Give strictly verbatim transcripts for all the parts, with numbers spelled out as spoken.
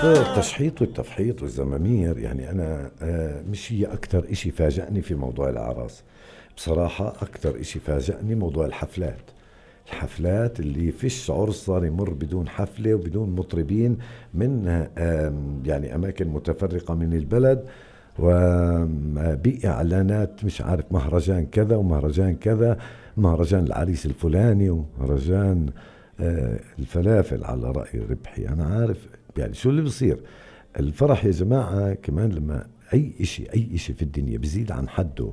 التشحيط والتفحيط والزمامير يعني أنا آه مش هي أكتر إشي فاجأني في موضوع الأعراس. بصراحة أكتر إشي فاجأني موضوع الحفلات. الحفلات اللي فيش عرس صار يمر بدون حفلة وبدون مطربين من آه يعني أماكن متفرقة من البلد، وبإعلانات مش عارف مهرجان كذا ومهرجان كذا، مهرجان العريس الفلاني ومهرجان آه الفلافل على رأي ربحي. أنا عارف يعني شو اللي بصير. الفرح يا جماعة كمان لما أي إشي أي إشي في الدنيا بيزيد عن حده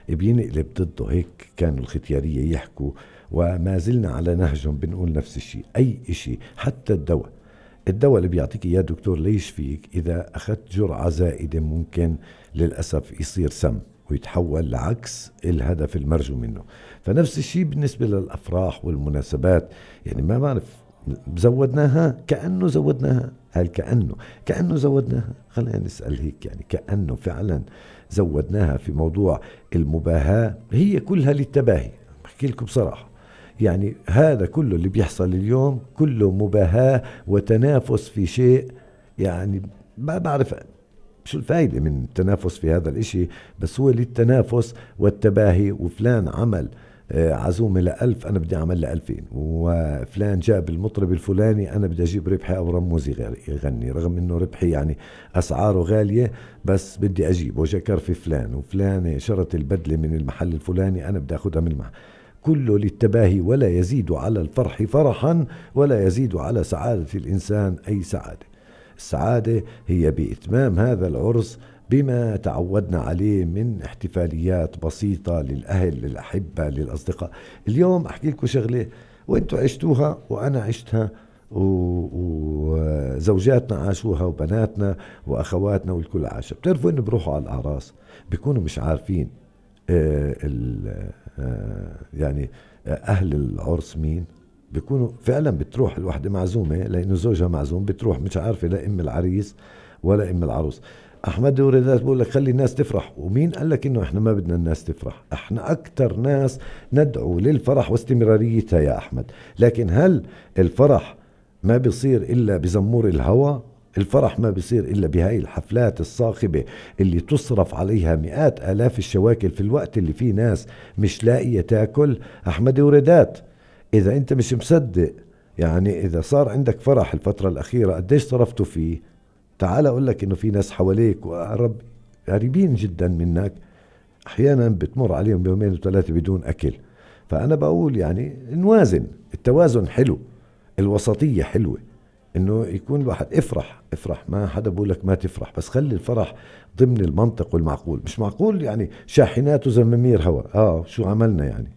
بينقلب ضده. هيك كانوا الختيارية يحكوا وما زلنا على نهجهم بنقول نفس الشيء. أي إشي حتى الدواء الدواء اللي بيعطيك إياه دكتور ليش فيك إذا أخذت جرعة زائدة ممكن للأسف يصير سم ويتحول لعكس الهدف المرجو منه. فنفس الشيء بالنسبة للأفراح والمناسبات. يعني ما بعرف زودناها كأنه زودناها هل كأنه كأنه زودناها. خلينا نسأل هيك يعني كأنه فعلا زودناها في موضوع المباهاة. هي كلها للتباهي. بحكي لكم بصراحة يعني هذا كله اللي بيحصل اليوم كله مباهاة وتنافس في شيء. يعني ما بعرف شو الفائدة من التنافس في هذا الاشي، بس هو للتنافس والتباهي. وفلان عمل عزومة لألف أنا بدي أعمل لألفين، وفلان جاب المطرب الفلاني أنا بدي أجيب ربحي أو رموزي يغني، رغم أنه ربحي يعني أسعاره غالية بس بدي أجيب. وشكر في فلان وفلان شرط البدلة من المحل الفلاني أنا بدي أخذها من المحل. كله للتباهي ولا يزيد على الفرح فرحا ولا يزيد على سعادة الإنسان أي سعادة. السعادة هي بإتمام هذا العرس بما تعودنا عليه من احتفاليات بسيطة للأهل للأحبة للأصدقاء. اليوم أحكي لكم شغلة وانتوا عشتوها وأنا عشتها وزوجاتنا عاشوها وبناتنا وأخواتنا والكل عاشها. بتعرفوا إنه بروحوا على الأعراس بيكونوا مش عارفين آه آه يعني أهل العرس مين. بيكونوا فعلا بتروح الوحدة معزومة لأنه زوجها معزوم، بتروح مش عارفة لا إم العريس ولا إم العروس. أحمد وردات بقول لك خلي الناس تفرح. ومين قال لك إنه إحنا ما بدنا الناس تفرح؟ إحنا أكتر ناس ندعو للفرح واستمراريتها يا أحمد. لكن هل الفرح ما بيصير إلا بزمور الهوى؟ الفرح ما بيصير إلا بهاي الحفلات الصاخبة اللي تصرف عليها مئات آلاف الشواكل في الوقت اللي فيه ناس مش لاقية تاكل. أحمد وردات إذا أنت مش مصدق يعني إذا صار عندك فرح الفترة الأخيرة قديش صرفتوا فيه، تعال أقول لك إنه في ناس حواليك وقرب قريبين جدا منك أحيانا بتمر عليهم يومين وثلاثة بدون أكل. فأنا بقول يعني نوازن. التوازن حلو، الوسطية حلوة، إنه يكون الواحد افرح افرح ما حدا بقول لك ما تفرح، بس خلي الفرح ضمن المنطق والمعقول. مش معقول يعني شاحنات وزمامير هوا. آه شو عملنا يعني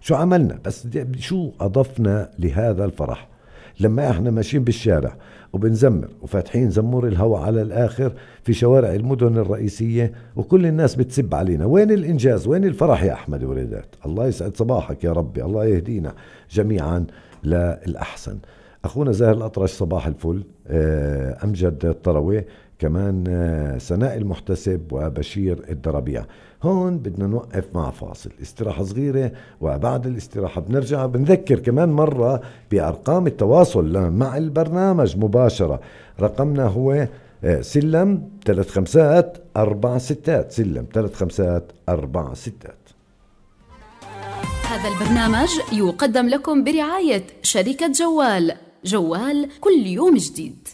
شو عملنا بس شو أضفنا لهذا الفرح لما احنا ماشيين بالشارع وبنزمر وفاتحين زمور الهواء على الآخر في شوارع المدن الرئيسية وكل الناس بتسب علينا؟ وين الإنجاز؟ وين الفرح يا أحمد وردات؟ الله يسعد صباحك يا ربي، الله يهدينا جميعا للأحسن. أخونا زاهر الأطرش صباح الفل، أمجد الطروي كمان، سناء المحتسب وبشير الدربيع. هون بدنا نوقف مع فاصل استراحة صغيرة، وبعد الاستراحة بنرجع بنذكر كمان مرة بأرقام التواصل مع البرنامج مباشرة. رقمنا هو سلم ثلاث خمسات أربع ستات، سلم ثلاث خمسات أربع ستات. هذا البرنامج يقدم لكم برعاية شركة جوال. جوال كل يوم جديد.